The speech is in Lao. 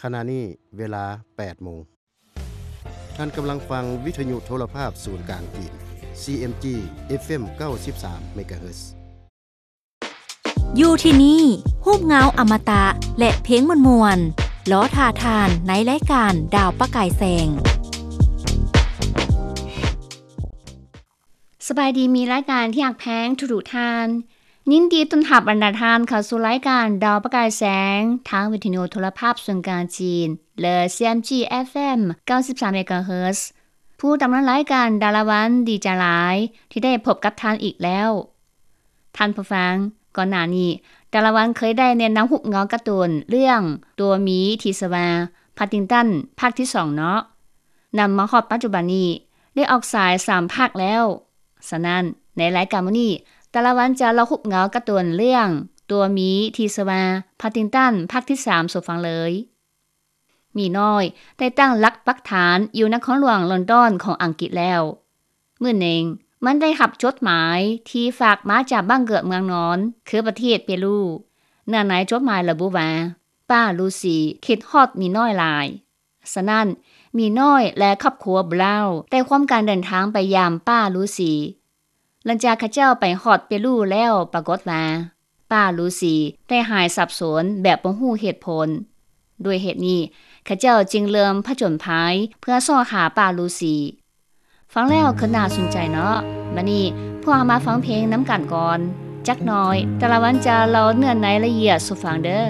ຂະນະນີ້ເວລາແປດໂມງ. ທ່ານກຳລັງຟັງວິທະຍຸໂທລະພາບສູນກາງຈີນ ຊີເອັມຈີ ເອັຟເອັມ ເກົ້າສິບສາມເມກາເຮີດ. ຢູ່ທີ່ນີ້ ຮູບເງົາອະມະຕະ ແລະ ເພງມ່ວນໆ ລໍຖ້າທ່ານໃນລາຍການດາວປະກາຍແສງ. ສະບາຍດີ ມິດລາຍການທີ່ຮັກແພງທຸກໆທ່ານ. ຍິນດີຕ້ອນຮັບບັນດາທ່ານເຂົ້າສູ່ລາຍການດາວປະກາຍແສງ ທາງວິທະຍຸໂທລະພາບສູນກາງຈີນ ຫຼື ຊີເອັມຈີ ເອັຟເອັມ ເກົ້າສິບສາມເມກາເຮີດ. ຜູ້ດຳເນີນລາຍການ ດາລາວັນ ດີໃຈຫຼາຍທີ່ໄດ້ພົບກັບທ່ານອີກແລ້ວ. ທ່ານຜູ້ຟັງ, ກ່ອນໜ້ານີ້ ດາລາວັນເຄີຍໄດ້ແນະນຳຮູບເງົາກາຕູນເລື່ອງຕົວໝີທີ່ຊື່ວ່າ ພັດຕິງຕັນ ພາກທີສອງເນາະ. ນຳມາຮອດປັດຈຸບັນນີ້ ໄດ້ອອກສາຍສາມພາກແລ້ວ. ສະນັ້ນ, ໃນລາຍການມື້ນີ້ ດາລາວັນຈະເລົ່າຮູບເງົາກາຕູນເລື່ອງຕົວໝີທີ່ຊື່ວ່າ ພັດຕິງຕັນ ພາກທີສາມສູ່ຟັງເລີຍ. ໝີນ້ອຍໄດ້ຕັ້ງຫຼັກປັກຖານຢູ່ນະຄອນຫຼວງລອນດອນຂອງອັງກິດແລ້ວ. ມື້ໜຶ່ງ, ມັນໄດ້ຮັບຈົດໝາຍທີ່ຝາກມາຈາກບ້ານເກີດເມືອງນອນ ຄືປະເທດເປຣູ. ເນື້ອໃນຈົດໝາຍລະບຸວ່າ ປ້າລູຊີຄິດຮອດໝີນ້ອຍຫຼາຍ. ສະນັ້ນ, ໝີນ້ອຍ ແລະ ຄອບຄົວບຣາວ ໄດ້ຮ່ວມກັນເດີນທາງໄປຢາມປ້າລູຊີ. ຫຼັງຈາກເຂົາເຈົ້າໄປຮອດເປຣູແລ້ວ, ປາກົດວ່າ ປ້າລູຊີໄດ້ຫາຍສັບສົນແບບບໍ່ຮູ້ເຫດຜົນ. ດ້ວຍເຫດນີ້, ເຂົາເຈົ້າຈຶ່ງເລີ່ມຜະຈົນໄພເພື່ອຊອກຫາປ້າລູຊີ. ຟັງແລ້ວຄືໜ້າສົນໃຈເນາະ. ບັດນີ້, ພວກເຮົາມາຟັງເພງນຳກັນກ່ອນ. ຈັກໜ້ອຍ, ດາລາວັນຈະເລົ່າເນື້ອໃນລະອຽດສູ່ຟັງເດີ້.